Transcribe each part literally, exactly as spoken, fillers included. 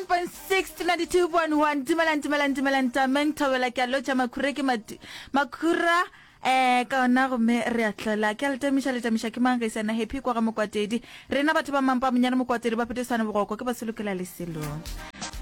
eighty-seven point six to ninety-two point one. Dumelang, dumelang, dumelang, tameng thobela ke a lotša makhura ke matu makhura eh ka ona gomme re a tlola ke a letamiša letamiša ke mang ge sena Happy kwa ga Mokwatedi. Rena batho ba mampa monyane Mokwatedi ba petesane bogoko ke ba solokela leselong.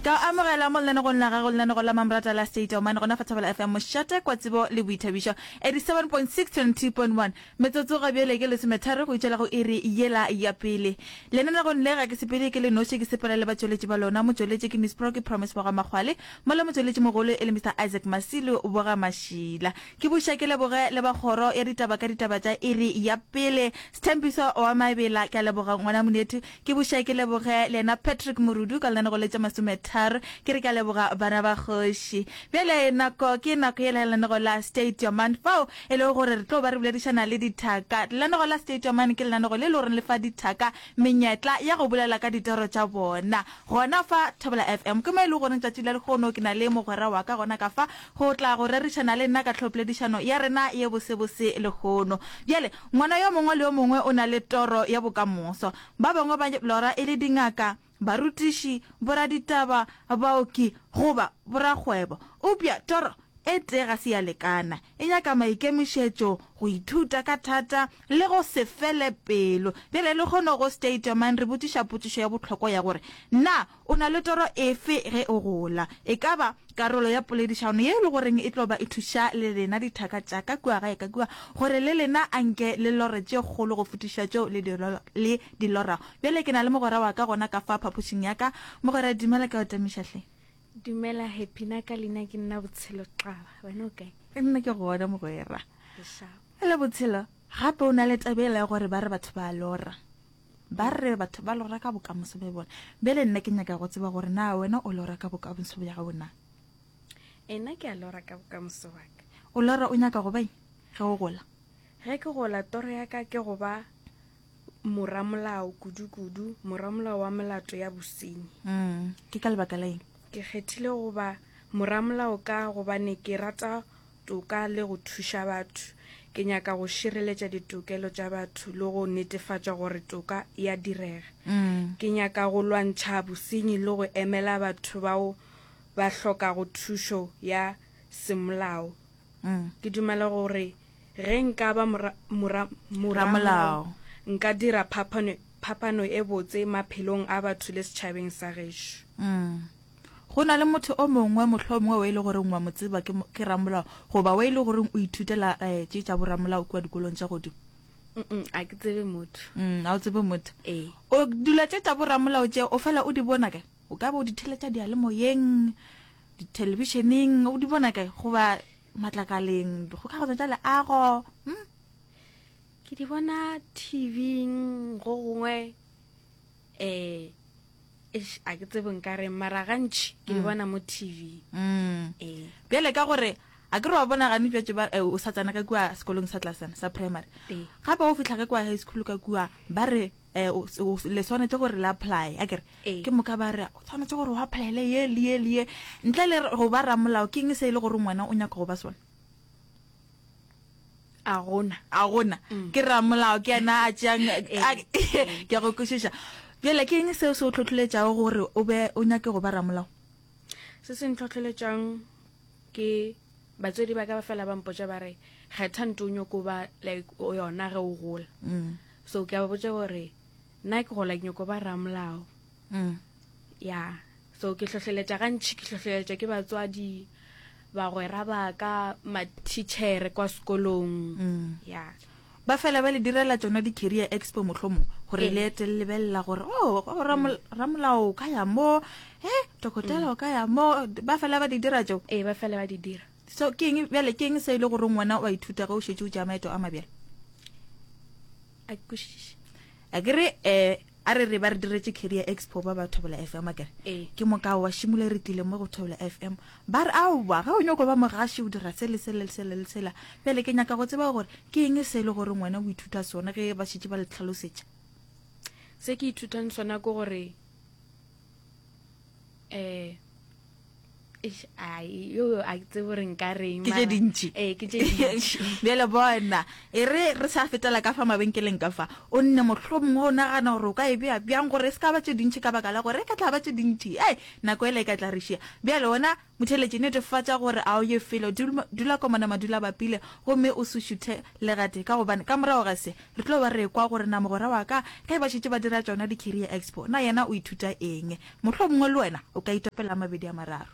Ka o amogela mo lenanegong la gago, lenanego la Mamrata la State of Mind, gona fa Thobela F M, mošate kwa tsebo le boithabišo. eighty-seven point six to ninety-two point one. Metsotso ga bjale ke lesometharo go itšwela go iri yela ya pele. Lenanegong le ga ke sepele ke le noši, ke sepela le batšweletši ba lona. Motšweletši ke Miss Pro, ke Promise Boga Makgwale, mola motšweletši mogolo e le Mister Isaac Masilu Boga Mašila. Ke buša ke leboge le ba kgoro ya ditaba ka ditaba tša iri ya pele. Sthembiso wa Mabela, ke a leboga ngwana monethu. Ke buša ke leboge le yena Patrick Morudu ka lenanego le tša masometharo. Ke re ke a leboga bana ba kgoši. Bjale nako ke nako yela ya lenanego la State Your Mind, fao e lego gore re tlo ba re boledišana le dithaka. Lenanego la State Your Mind ke lenanego le le goreng le fa dithaka menyetla ya go bolela ka ditoro tša bona. Gona fa Thobela F M ke mo e le goreng tšatši la lehono ke na le mogwera wa ka gona ka fa go tla go rerišana le nna ka tlhopoledišano ya rena ye bosebose lehono. Bjale ngwana yo mongwe le yo mongwe o na le toro ya bokamoso. Ba bangwe ba lora e le dingaka, barutiši, boraditaba, baoki goba borakgwebo. Eupša toro e tee ga se ya lekana. E nyaka maikemišetšo, go ithuta ka thata le go se fele pelo. Bjale le kgone go State Your Mind re botšiša potšišo ya bohlokwa ya gore na o na le toro efe ge o gola? E ka ba karolo ya poledišano ye e le goreng e tlo ba e thuša le lena dithaka tša ka kua gae ka kua gore le lena anke le lore tše kgolo go fetiša tšeo le di le di lorago. Bjale ke na le mogwera wa ka gona ka fa phapošing ya ka. Mogwera, dumela, ke o tamiša hle. Dumela Happy, na ka leina ke nna Botshelo Xaba. Wena o kae? Nna ke gona mogwera. Le Botshelo, gape o na le tabela ya gore ba re batho ba lora. Ba re batho ba lora ka bokamoso bja bona. Bjale nna ke nyaka go tseba gore na wena o lora ka bokamoso bja gago na? Ena ke a lora ka bokamoso wa ka. O lora o nyaka go ba eng ge o gola? Ge ke gola toro ya ka ke go ba moramolao kudu-kudu, moramolao wa melato ya bosenyi. Mm, ke ka lebaka la eng? Ke kgethile go ba moramolao ka gobane ke rata toka le go thuša batho. Ke nyaka go šireletša ditokelo tša batho le go netefatša gore toka ya direga. Mm. Ke nyaka go lwantšha bosenyi le go emela batho bao ba hlokago thušo ya semolao. Mm. Ke dumela gore ge nka ba mora, mora, Ramolao. moramolao, nka dira phapano, phapano e botse maphelong a batho le setšhabeng sa gešo. Mm. Go na le motho o mongwe mohlomongwe o e le goreng wa mo tseba ke, ke ramolao goba o e le goreng o ithutela eh, tše tša boramolao kua dikolong tša godimo? Mm, a ke tsebe motho. Mm, a o tsebe motho. Ee. O dula tše tša boramolao tše o fela o di bona kae? O ka ba o di theletša diyalemoyeng, dithelebišeneng, o di bona kae? Goba matlakaleng, dikgokagano tša leago? Mm? Ke di bona T V-ing go gongwe, eh eish, a ke tsebe nka reng, mara gantši ke di bona mo T V. Mm. Ee. Bjale ka gore a ke re wa bona gane bjatše ba eh, o sa tsena ka kua sekolong sa tlasana sa primary. Ee. Gape o fihla ka kua high school ka kua ba re eh, o, o, le swanetše gore le apply, a ke re. Ee. Ke moka ba re o tshwanetse gore o applyele ye le ye le ye. Ntle le go ba ramolao, ke eng se e le gore ngwana o nyaka go ba sona? A gona. A gona. Ke ramolao ke yena a tšeang, Ee. ke a go kwešiša. Bjale ke eng seo se o hlohleletšago gore o be o nyake go ba ramolao? Se se ntlhohleletšang ke batswadi ba ka ba fela ba mpotša ba re kgetha ntho o nyako ba like o yona ge o gola. Mm. So ke a ba botša gore nna ke gola ke nyako ba ramolao. Mm. Ya. So ke hlohleletša gantši, ke hlohleletša ke batswadi, bagwera ba ka, matitšhere kwa sekolong. Mm. Ya. Ba fela ba le direla tšona di-career expo mohlomong gore Ee. le ete le lebelela gore oh, oh, ramol-, ramolao o ka ya mo, eh, dokotela o ka ya mo, ba fela ba di dira tšeo? Ee, ba fela ba di dira. So ke eng bjale, ke eng se e le gore ngwana o a ithuta ge o šetše o tšea maeto a mabjale? A ke kwešiše. A ke re, eh, a re re ba re diretše career expo ba ba Thobela F M, a ke re? Ee. Ke moka wa šimole re tlile mo go Thobela F M. Ba re, aowa, ge o nyako ba mogaši o dira se le se le se le sela. Bjale ke nyaka go tseba gore ke eng se e le gore ngwana o ithuta sona ge ba šetše ba le hlalosetša? Se ke ithutang sona ke gore, eh, Eish, ai, yo a ke tsebe gore nka reng Ke tše mara- dintši. Ee, ke tše dintši. Bjale bona, e re re sa fetela ka fa mabenkeleng ka fa, o nne mohlomongwe o nagana gore o ka e bea bjang gore e se ka ba tše dintši ka baka la gore e ka tla ba tše dintši, ei, nako ela e ka tla re šia. Bjale wena motheeletši netefatša gore a o ye felo, dul-, dula komana madula bapile gomme o se šuthe le gatee ka gobane ka morago ga se re tlo ba re ekwa gore na mogwera wa ka ge ba šetše ba dira tšona di-career expo na yena o ithuta eng. Mohlomongwe le wena o ka itopela a mabedi a mararo.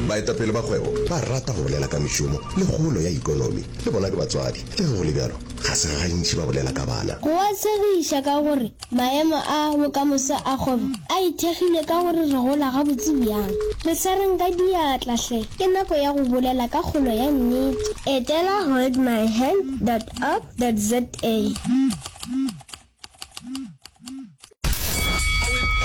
Baetapele ba kgwebo ba rata go bolela ka mešomo le kgolo ya ikonomi. Le bona ke batswadi. Le ge go le bjalo, ga se gantši ba bolela ka bana. Go a tshegiša ka gore maemo a bokamoso a kgwebo a ithekgile ka gore re gola gabotse bjang. Re swareng ka diatla hle, ke nako ya go bolela ka kgolo ya nnete. Etela holdmyhand dot org dot za.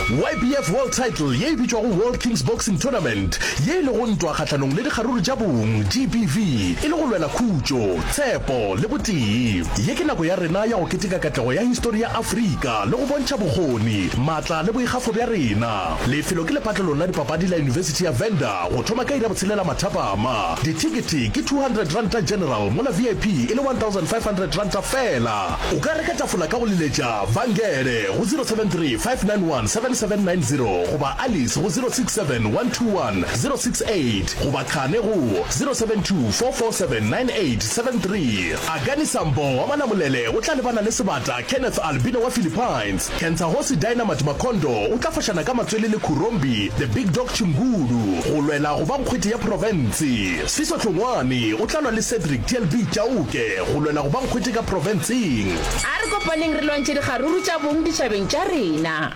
Y B F World Title ye e bitšwago World Kings Boxing Tournament, ye e lego ntwa kgahlanong le dikgaruru tša bong, G B V, e le go lwela khutšo, tshepo le botee. Ye ke nako ya rena ya go keteka katlego ya histori ya Afrika le go bontšha bokgoni, maatla le boikgafo bja rena. Lefelo ke lepatlelong la dipapadi la Yunibesithi ya Venda go thoma ka iri ya botshelela mathapama. Dithekete ke two hundred ranta general mola V I P e le one thousand five hundred ranta feela. O ka reka tafola ka go leletša Vangele go zero seven three five nine one seven seven nine zero goba Alice go zero six seven one two one zero six eight goba Khane go zero seven two four four seven nine eight seven three. Akani Sambo wa Malamulele o tla lebana le sebata Kenneth Albino wa Philippines. Kentsahosi Dynamite Makondo o tla fošana ka matswele le Khurombi The Big Dog Chingulu go lwela go ba nkgwete ya profense. Sfiso Hlongwane o tla lwa le Cedric T L B Chauke go lwela go ba nkgwete ka profenseng. A re kopaneng re lwantšhe dikgaruru tša bong ditšhabeng tša rena.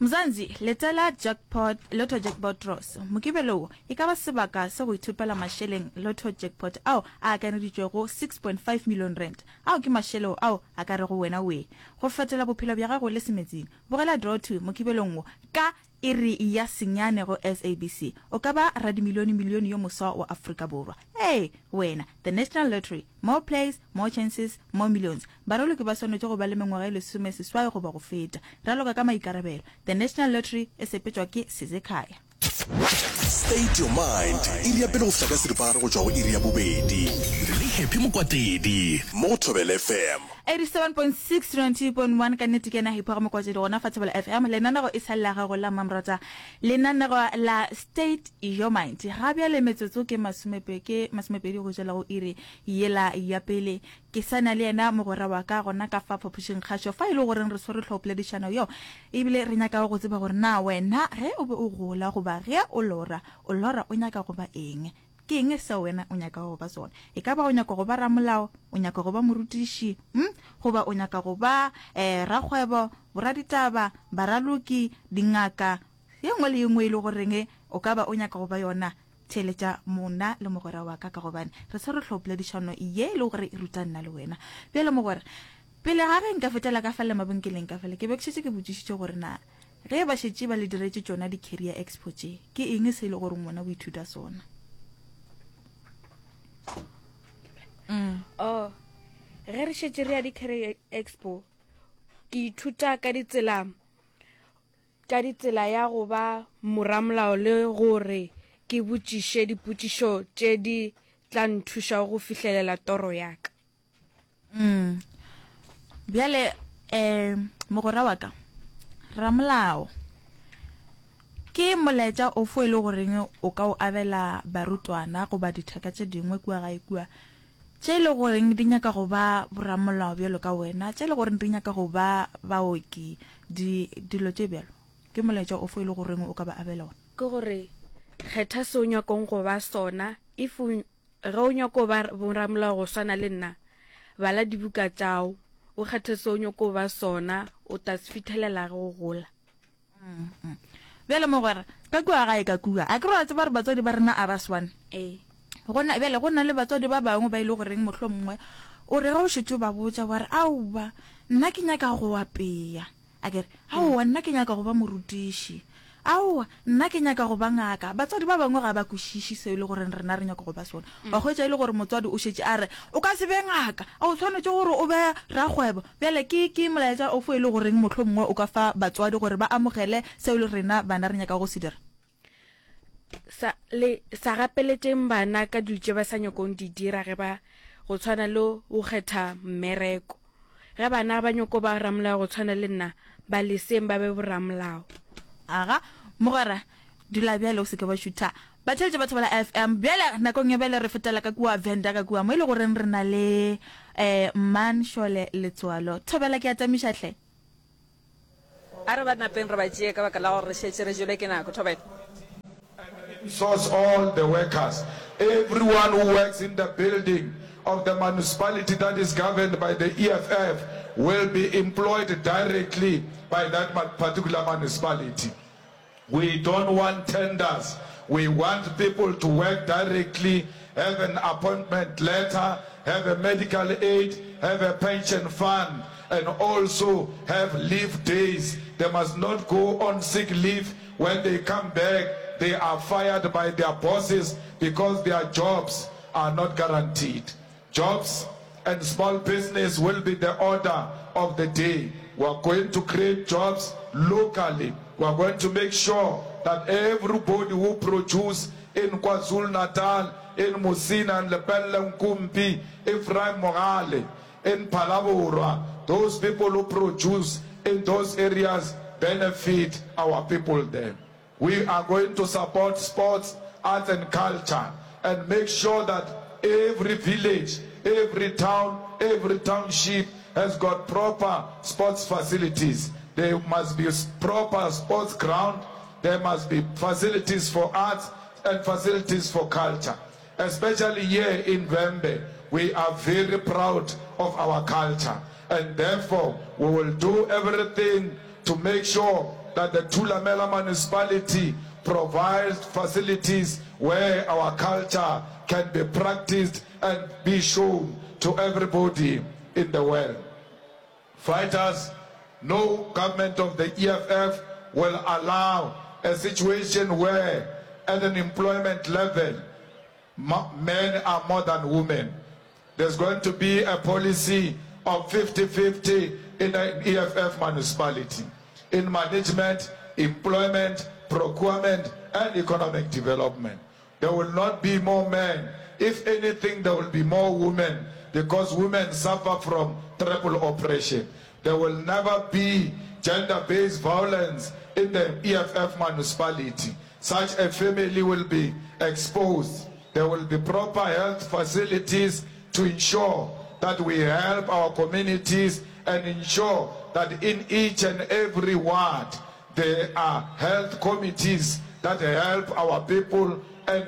Mzansi, letela jackpot, Lotto Jackpot Draws. Mokibelo wo e ka ba sebaka sa go ithopela mašeleng Lotto Jackpot ao a akanyeditšwego six point five million rand. Ao ke mašeleo ao a ka rego wena wee go fetola bophelo bja gago le semetsing. Bogela Draw two mokibelong wo ka iri ya senyane go S A B C. O ka ba radimilione-milione yo moswa wa Afrika Borwa. Ee, wena! The National Lottery, more plays, more chances, more millions. Baraloki ba swanetše go ba le mengwaga e lesome seswai goba go feta. Raloka ka maikarabelo. The National Lottery e sepetšwa ke Sizekhaya. State Your Mind, iri ya pele go fihla ka seripagare go tšwa go iri ya bobedi. Le Happy Mokwatedi mo go Thobela F M. eighty-seven point six twenty point one ka nnete ke yena Happy ga Mokwatedi gona fa Thobela F M. Lenanego e sa le la gago la mmamorata, lenanego la State Your Mind. Ga bjale metsotso ke masomepe ke masomepedi go tšwela go iri yela ya pele. Ke sa na le yena mogwera wa ka gona ka fa phapošing kgašo fa e le goreng re swere tlhopoledišano yo ebile re nyaka go tseba gore na wena ge o be o gola goba ge o lora o lora o nyaka go ba eng, ke eng seo wena o nyaka go ba sona. E ka ba o nyaka go ba ramolao, o nyaka go ba morutiši, hm goba o nyaka go ba um rakgwebo, boraditaba, baraloki, dingaka, ye nngwe le ye nngwe e le goreng o ka ba o nyaka go ba yona. Theeletša mona le mogwera wa ka ka gobane re swere tlhopoledišano ye e le gore e ruta nna le wena. Bjale mogwera, pele ga ge nka fetela ka fale mabenkeleng ka fale, ke be ke šetše ke botšišitše gore na ge ba šetše ba le diretše tšona di-career expo tše, ke eng se e le gore ngwana o ithuta sona? Oh, ge re šetše re ya di-career expo, ke ithuta ka ditsela ka ditsela ya go ba moramolao le gore ke botšiše dipotšišo tše di tla nthušago go fihlelela toro ya ka. mm. Bjale um mogwera wa ka ramolao, ke molaetša ofo e le goreng o ka o abela barutwana goba dithaka tše dingwe kua gae kua tše e le goreng di nyaka go ba boramolao bjalo ka wena, tše e le goreng di nyaka go ba baoki, di dilo tše bjalo, ke molaetša ofo e le goreng o ka ba abela ona? Ke gore kgetha se o nyakong go ba sona. If o ge o nyako ba boramolao go swana le nna, bala dibuka tšao, o kgethe se o nyako ba sona, o tla se fithelela ge o gola. Bjale mogwera, ka kua gae ka kua, a ke re wa tseba gore batswadi ba rena a ba swane? Ee. Gona bjale go na le batswadi ba bangwe ba ile goreng mohlomongwe o re ge o šetše o ba botša wa re aowa, nna ke nyaka go apea, a kere aowa, nna ke nyaka go ba morutiši, aowa, nna ke nyaka go ba ngaka, batswadi ba bangwe ga ba kwešiše seo e le goreng rena re nyaka go ba sona. Wa hwetša e le gore motswadi o šetše a re o ka se be ngaka, a o tshwanetse gore o be rakgwebo. Bjale ke ke molaetša ofo e le goreng mohlomongwe o ka fa batswadi gore ba amogele seo le rena bana re nyaka go se dira? Sa le sa gapeletšeng bana ka dilo tše ba sa nyakong di dira ge ba go tshwana le go kgetha mmereko. Ge bana ba nyoko ba ramolao go tshwana le nna, ba leseng ba be boramolao. Aga, mogwera, dula bjale o se ke wa šutha. Batheeletši ba Thobela F M, bjale nakong ya bjale re fetela ka kua Venda ka kua mo e le goreng re na le um Mmanshole Letsoalo. Thobela, ke a tamiša hle. A re ba napeng re ba tšee ka baka la gore re šetše re jelwe ke nako. Thobela. Source all the workers, everyone who works in the building of the municipality that is governed by the E F F will be employed directly by that particular municipality. We don't want tenders. We want people to work directly, have an appointment letter, have a medical aid, have a pension fund, and also have leave days. They must not go on sick leave. When they come back, they are fired by their bosses because their jobs are not guaranteed. Jobs and small business will be the order of the day. We are going to create jobs locally. We are going to make sure that everybody who produce in KwaZulu-Natal, in Musina and Lepelle Nkumpi, Ephraim Mogale, in Phalaborwa, those people who produce in those areas benefit our people there. We are going to support sports, arts and culture and make sure that every village, every town, every township has got proper sports facilities. There must be proper sports ground. There must be facilities for arts and facilities for culture. Especially here in Vhembe, we are very proud of our culture. And therefore, we will do everything to make sure that the Thulamela municipality provides facilities where our culture can be practiced and be shown to everybody in the world. Fighters, no government of the E F F will allow a situation where at an employment level, men are more than women. There's going to be a policy of fifty fifty in an E F F municipality, in management, employment, procurement, and economic development. There will not be more men. If anything, there will be more women because women suffer from triple oppression. There will never be gender-based violence in the E F F municipality. Such a family will be exposed. There will be proper health facilities to ensure that we help our communities and ensure that in each and every ward there are health committees that help our people and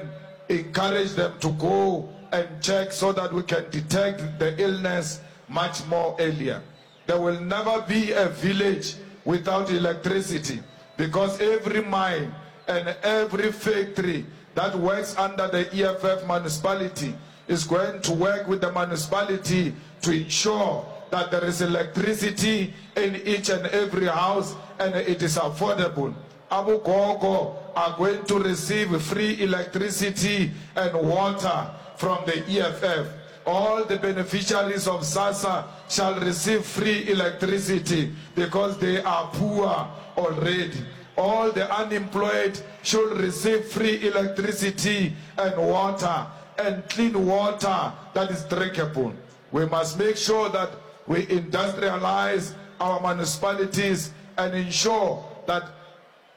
encourage them to go and check so that we can detect the illness much more earlier. There will never be a village without electricity because every mine and every factory that works under the E F F municipality is going to work with the municipality to ensure that there is electricity in each and every house and it is affordable. Abogogo are going to receive free electricity and water from the E F F. All the beneficiaries of SASSA shall receive free electricity because they are poor already. All the unemployed should receive free electricity and water and clean water that is drinkable. We must make sure that we industrialize our municipalities and ensure that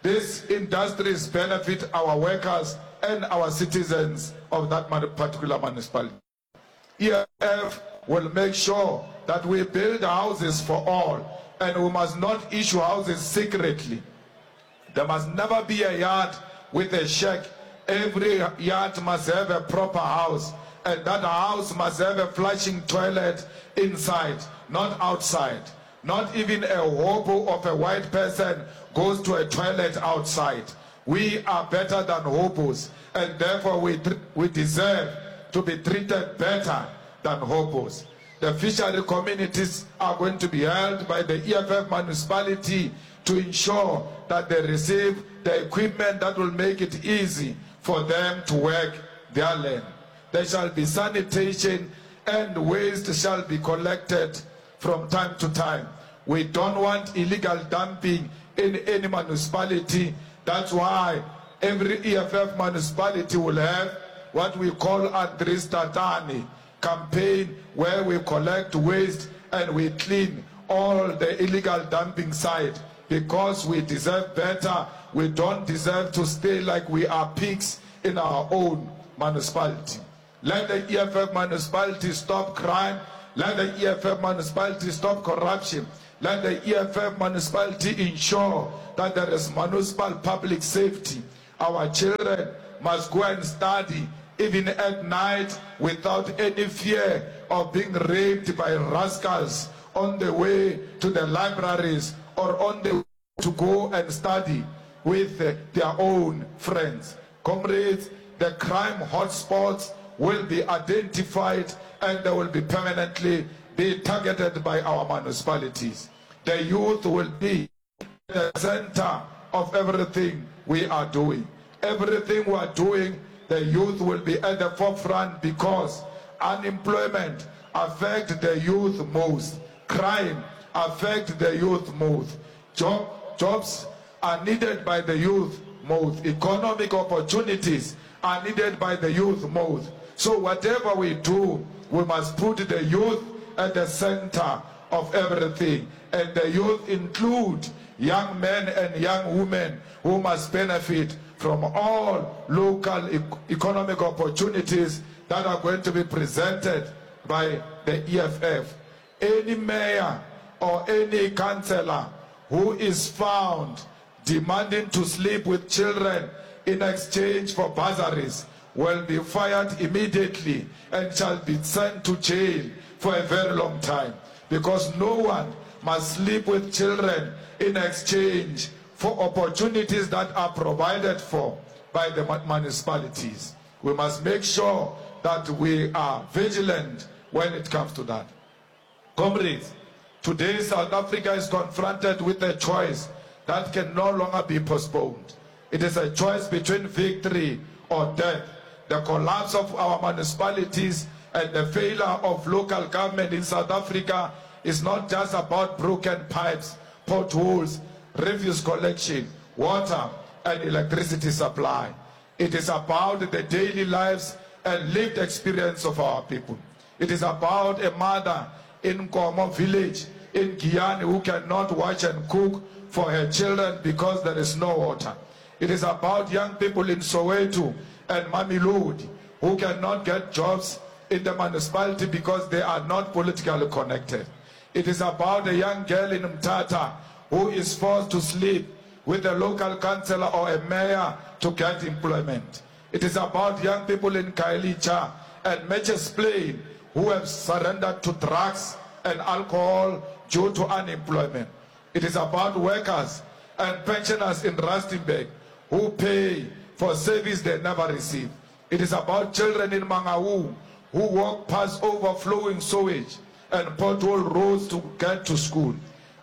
these industries benefit our workers and our citizens of that particular municipality. E F F will make sure that we build houses for all, and we must not issue houses secretly. There must never be a yard with a shack. Every yard must have a proper house, and that house must have a flushing toilet inside, not outside. Not even a hobo of a white person goes to a toilet outside. We are better than hobos, and therefore we, we deserve to be treated better than hobos. The fishery communities are going to be held by the E F F municipality to ensure that they receive the equipment that will make it easy for them to work their land. There shall be sanitation and waste shall be collected from time to time. We don't want illegal dumping in any municipality. That's why Every E F F municipality will have what we call Andries Tatane campaign, where we collect waste and we clean all the illegal dumping site, because we deserve better. We don't deserve to stay like we are pigs in our own municipality. Let the E F F municipality stop crime. Let the E F F municipality stop corruption. Let the E F F municipality ensure that there is municipal public safety. Our children must go and study even at night without any fear of being raped by rascals on the way to the libraries or on the way to go and study with their own friends. Comrades, the crime hotspots will be identified and they will be permanently be targeted by our municipalities. The youth will be the center of everything we are doing. Everything we are doing, the youth will be at the forefront, because unemployment affects the youth most. Crime affects the youth most. Job, jobs are needed by the youth most. Economic opportunities are needed by the youth most. So whatever we do, we must put the youth at the center of everything. And the youth include young men and young women who must benefit from all local e- economic opportunities that are going to be presented by the E F F. Any mayor or any councillor who is found demanding to sleep with children in exchange for bursaries will be fired immediately and shall be sent to jail for a very long time, because no one must sleep with children in exchange for opportunities that are provided for by the municipalities. We must make sure that we are vigilant when it comes to that. Comrades, today South Africa is confronted with a choice that can no longer be postponed. It is a choice between victory or death. The collapse of our municipalities and the failure of local government in South Africa is not just about broken pipes, potholes, refuse collection, water and electricity supply. It is about the daily lives and lived experience of our people. It is about a mother in Nkomo village in Giyani who cannot wash and cook for her children because there is no water. It is about young people in Soweto and Mamelodi who cannot get jobs in the municipality because they are not politically connected. It is about a young girl in Mthatha who is forced to sleep with a local councillor or a mayor to get employment. It is about young people in Khayelitsha and Mitchells Plain who have surrendered to drugs and alcohol due to unemployment. It is about workers and pensioners in Rustenburg who pay for service they never receive. It is about children in Mangaung who walk past overflowing sewage and pothole roads to get to school.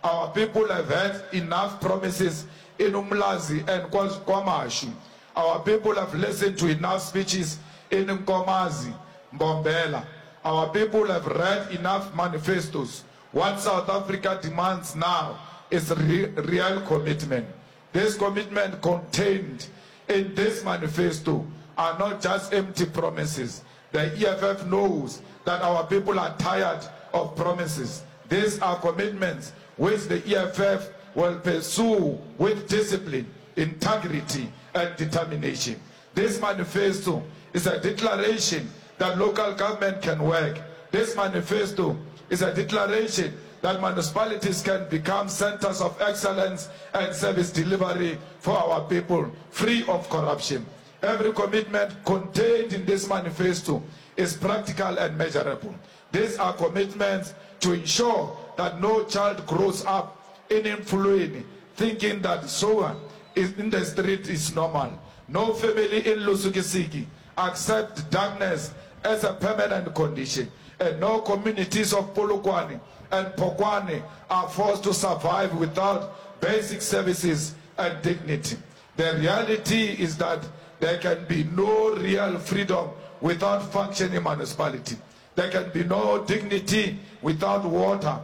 Our people have had enough promises in Umlazi and KwaMashu. Our people have listened to enough speeches in Nkomazi, Mbombela. Our people have read enough manifestos. What South Africa demands now is re- real commitment. This commitment contained in this manifesto are not just empty promises. The E F F knows that our people are tired of promises. These are commitments which the E F F will pursue with discipline, integrity, and determination. This manifesto is a declaration that local government can work. This manifesto is a declaration that municipalities can become centers of excellence and service delivery for our people, free of corruption. Every commitment contained in this manifesto is practical and measurable. These are commitments to ensure that no child grows up in Emfuleni thinking that sewer is in the street is normal. No family in Lusikisiki accept darkness as a permanent condition. And no communities of Polokwane and Phokwane are forced to survive without basic services and dignity. The reality is that there can be no real freedom without functioning municipality. There can be no dignity without water.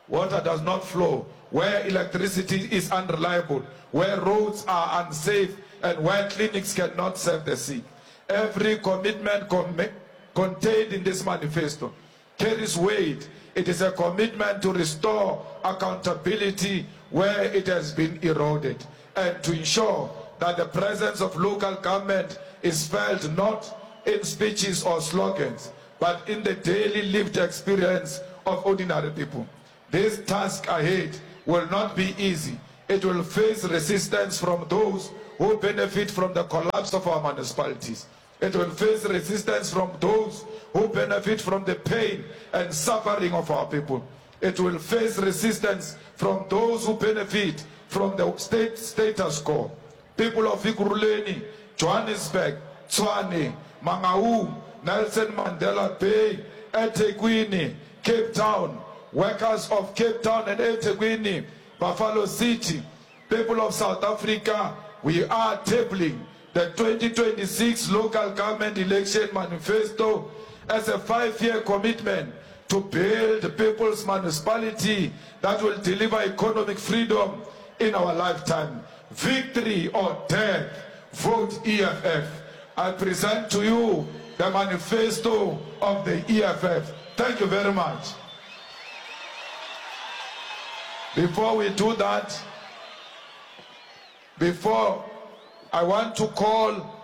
Water does not flow where electricity is unreliable, where roads are unsafe, and where clinics cannot serve the sick. Every commitment com- contained in this manifesto carries weight. It is a commitment to restore accountability where it has been eroded and to ensure that the presence of local government is felt not in speeches or slogans, but in the daily lived experience of ordinary people. This task ahead will not be easy. It will face resistance from those who benefit from the collapse of our municipalities. It will face resistance from those who benefit from the pain and suffering of our people. It will face resistance from those who benefit from the state status quo. People of Ekurhuleni, Johannesburg, Tshwane, Mangaung, Nelson Mandela Bay, eThekwini, Cape Town, workers of Cape Town and eThekwini, Buffalo City, people of South Africa, we are tabling the twenty twenty-six Local Government Election Manifesto as a five-year commitment to build the people's municipality that will deliver economic freedom in our lifetime. Victory or death, vote E F F. I present to you the manifesto of the E F F. Thank you very much. Before we do that, before I want to call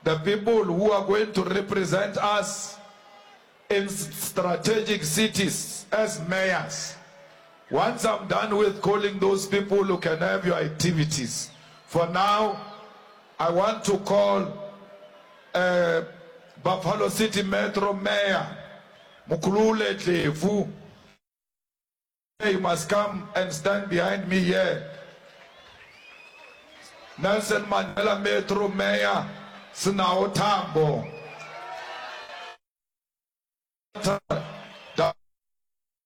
the people who are going to represent us in strategic cities as mayors. Once I'm done with calling those people who can have your activities. For now, I want to call, uh, Buffalo City Metro Mayor Mukulule Dlevu. You must come and stand behind me here. Nelson Mandela Metro Mayor Sinao Tambo.